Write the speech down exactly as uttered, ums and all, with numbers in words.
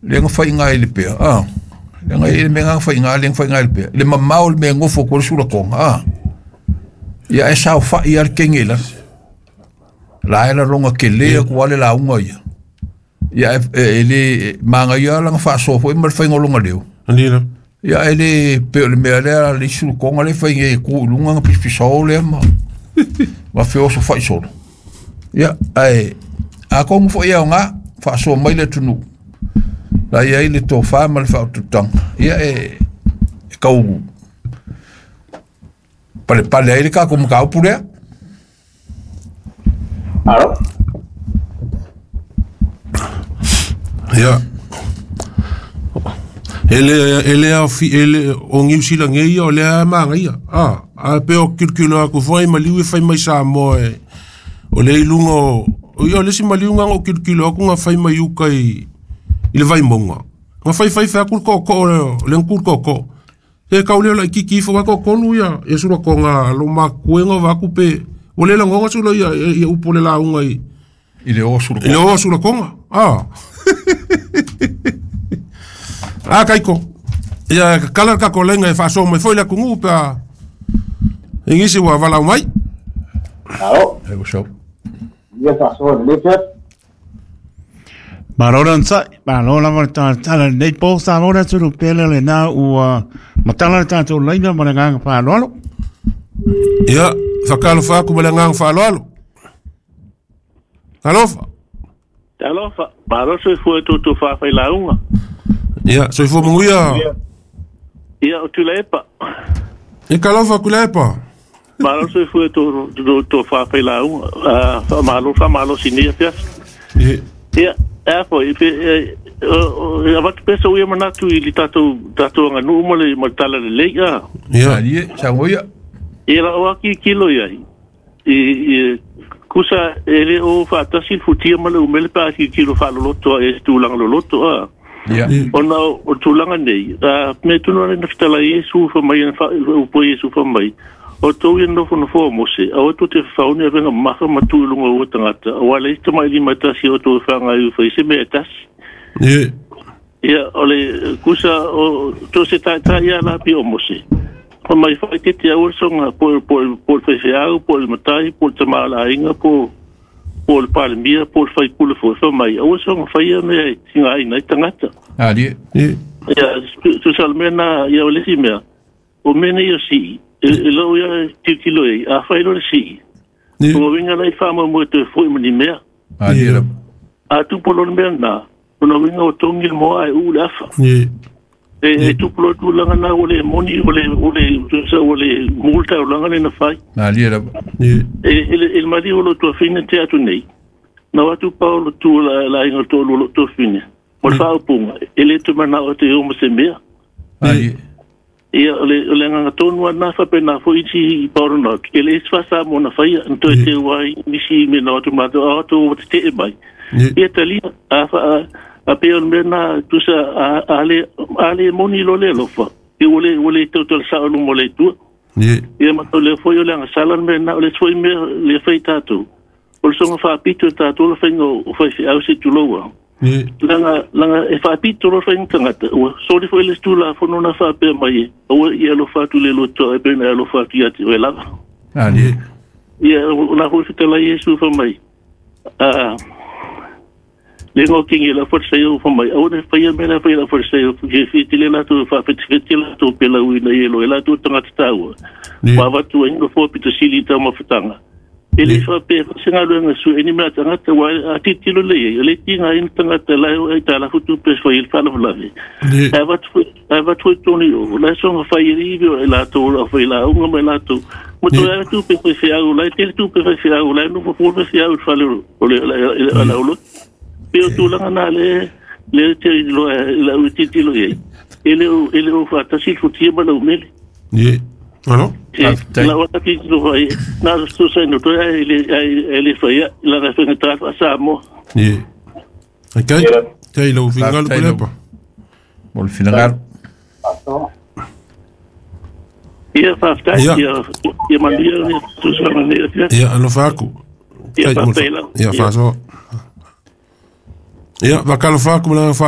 Le nga fai ngai le pea ah le nga le mea fai ngai le fai ngai le pea le mamao le mea ngofo ko sula konga ah ia e sao fa ia le kengela la era longa ke le ko ale la unga ia ia e le manga ia la fa so foi ma fai ngolonga leo anila ia ele pe le mea le le sula konga le fai ngai ku lunga nga pispisao le ma ma feo so fai solo ia ai a kongu fo ia nga fa so mai le tunu la ia ile to fa ma le fa tutang ia e kau pale pale ai le ka ko ka upure alo ia ele ele a fi ele o ngiu sila ngai o le ma ngai a a pe o kilkilo a ku foi maliu fai mai sa mo e o le ilungo o ia le si maliu nga o kilkilo ku nga fai mai ukai i le vai monga nga fai fai fa ku ko ko le ku ko ko e ka ole la kiki fo ko ko lu ia e sura ko nga lo ma kuenga va ku pe o le la ngonga sura ia ia upo le la unga i i le o sura i le o sura konga ah ah kaiko ia kala ka ko lenga e fa so mai foi la kungu pa ingisi wa vala mai alo e go show ia fa so le Marora nsai, marora ma tala nei po sa mora turu pele le na ua matala tatou laina ma nganga pa lolo. Ia, fakalo fa ku ma nganga fa lolo. Alofa. Alofa, maro so fu tu tu fa fa launga. Ia, so fu munguia. Ia o tulepa. E kalofa kulepa. Maro so fu tu tu tu fa fa launga. Ah, malo fa malo sinia pia. Ia. Ia. Apo e e avatu pesa ia manatu i tatou tatou anga nu mo le mo tala le leia ia ia sangoia ia la o ki kilo ia i i kusa ele o fatasi futia ma le umele pa ki kilo fa loloto e tulanga loloto a ia ona o tulanga nei a me tunu na fitala Yesu fa mai fa o po Yesu fa mai o tau ia nofo nofo mo se o tu te fauni a venga maha matu lunga o tangata o ale ista mai lima tasi o tu whanga i whai se mea tasi ia ia ole kusa o tu se taitai ia la pi o mose o mai whai te te aua songa po po po whai po matai po tamala inga po po le palemia po le whai pule fo fo mai aua songa whai a mea tinga ai nei tangata ali ia tu salmena ia o lesi mea o mene ia si e lo ia titilo e a fai lo si o winga lai fa mo mo te foi mo ni mea ali a tu polo mea na o winga o tongi mo ai u la fa ni e tu polo tu langa na o le moni o le o le tu sa o le multa o langa le na fai ali ni e e el mali o lo tu fine te atu nei na watu paulo tu la la inga to lo tu fine mo fa o punga ele tu mana o te o mo se mea ali ia le le nganga tonu ana fa pe na fo iti pauro no ke le fa sa mo na fai nto te wai nisi me no tu ma to to te e mai ia tali a fa a pe on me na tu sa ale ale moni lo le lo fa e ole ole to to sa lo mo le tu ia ma to le fo yo le sala me na le foi me le fai tatu o so fa pitu tatu lo fai no fai au se tu lo langa langa e fa pito lo fai tangata o so le foi le stula fo no na fa pe mai o ia lo fa tu le lo to e pe na lo fa tu ia te la ali ia la ho te la Yesu fa mai a le ngo kingi la forse yo fa mai o ne fa ia me la fa la forse yo ke fi te le la tu fa fe te la tu pe la ui na ia lo la tu tangata tau wa va tu en fo pito sili ta mo fatanga ele fa pe singa lo su eni mea tangata wa atitilo le le tinga in tangata la e tala futu pe fo il fa la le e va tu e va tu toni o la so fa iri la to la fa la unga me la to mo to la tu pe fe au la te tu pe fe au la no fo fe au fa le le la la lo pe tu la na le le te lo la utitilo e ele ele o fa ta si futi ma lo mele ni alo la outra que tu vai na tu sai no to ele ele foi la referente a Samo ni okay kai lo fingal ko mo le final ia fa fa ia ia mandia tu sa mandia ia no faku ia fa ia fa so ia va kalo faku la fa